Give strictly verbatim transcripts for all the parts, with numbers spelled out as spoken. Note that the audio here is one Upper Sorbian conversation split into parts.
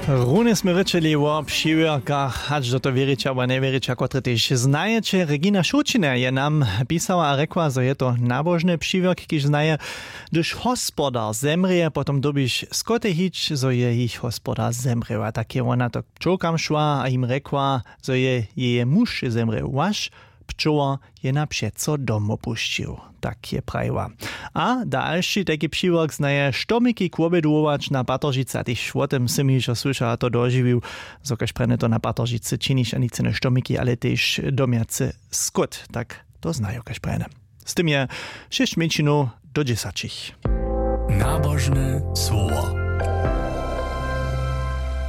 Runje smy rěčeli wo přiwjerkach, hač do to wěriće abo njewěriće, kotre tež znajeće. Regina Šołćina je nam pisała a rjekła, zo je to nabožny přiwjerk, kiž znaje: Hdyž hospodar zemrěje, potom dyrbiš skoty hić, zo je jich hospodar zemrěł. A tak je wona to k pčołkam šła a jim rjekła, zo je jeje muž zemrěł, waš pčołar je na přeco dom wopušćił. Tak je prajiła. A dalši tajki přiwjerk znaje: Štomiki k wobjedu wołać na Patoržicy. A tež wo tym sy mi hižo słyšał a to dožiwił, zo kaž prjene to na Patoržicy činiš a nic jene štomiki, ale tež domjacy skót. Tak to znaju kaž prjene. Z tym je šěsć mjeńšinow do dźesaćich. Nabožne słowo.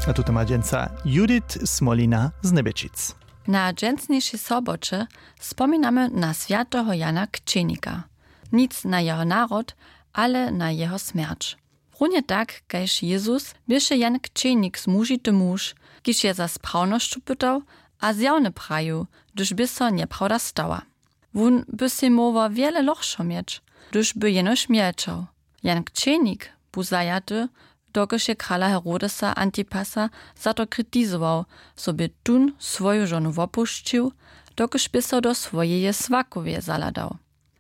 A tuto ma dźensa Judith Smolina z Njebječic. Na dźensnišej soboće spominamy na swjateho Jana Kćenika. Nic na jeho narod, ale na jeho smjerć. Runje tak kaž Jezus běše Jan Kćenik zmužity muž, kiž je za sprawnosću pytał a zjawne prajił, hdyž bě so njeprawda stała. Wón by sej móhł wjele lochšo měć, hdyž by jenož mjelčał. Jan Kćenik bu zajaty, dokelž je krala Herodesa Antipasa za to kritizował, zo bě tón swoju žonu wopušćił, dokelž bě so do swojeje swakowje zahladał.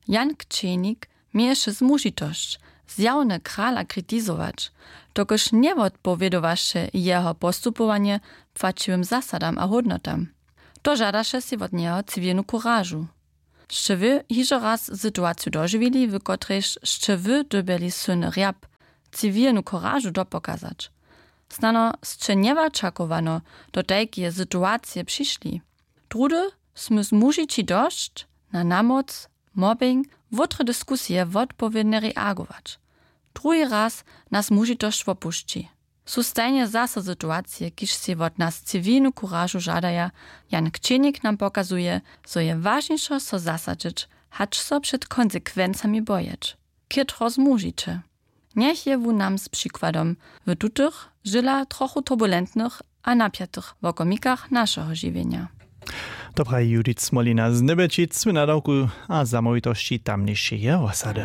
Jan Kćenik měješe zmužitosć, zjawne krala kritizować, dokelž njewotpowědowaše jeho postupowanje płaćiwym zasadam a hódnotam. To žadaše sej wot njeho ciwilnu kuražu. Sće wy hižo raz situaciju dožiwili, w kotrejž sće wy dyrbjeli syn rjap, ciwilnu kuražu dopokazać? Snano sće njewočakowano do tajkeje situacije přišli. Druhdy smy zmužići dosć na namoc, mobbing, wótre diskusije wotpowědnje reagować. Druhi raz nas zmužitosć wopušći. Su stajnje zaso situacije, kiž sej wot nas ciwilnu kuražu žadaja. Jan Kćenik nam pokazuje, zo je wažnišo so zasadźeć, hač so před konsekwencami bojeć. Chětro zmužiće. Njech je wón nam z přikładom w tutych, žyla trochu turbulentnych a napjatych wokomikach našeho žiwjenja. To praji Judith Smolina z Njebječic w nadawku a zamołwitosći tamnišeje wosady.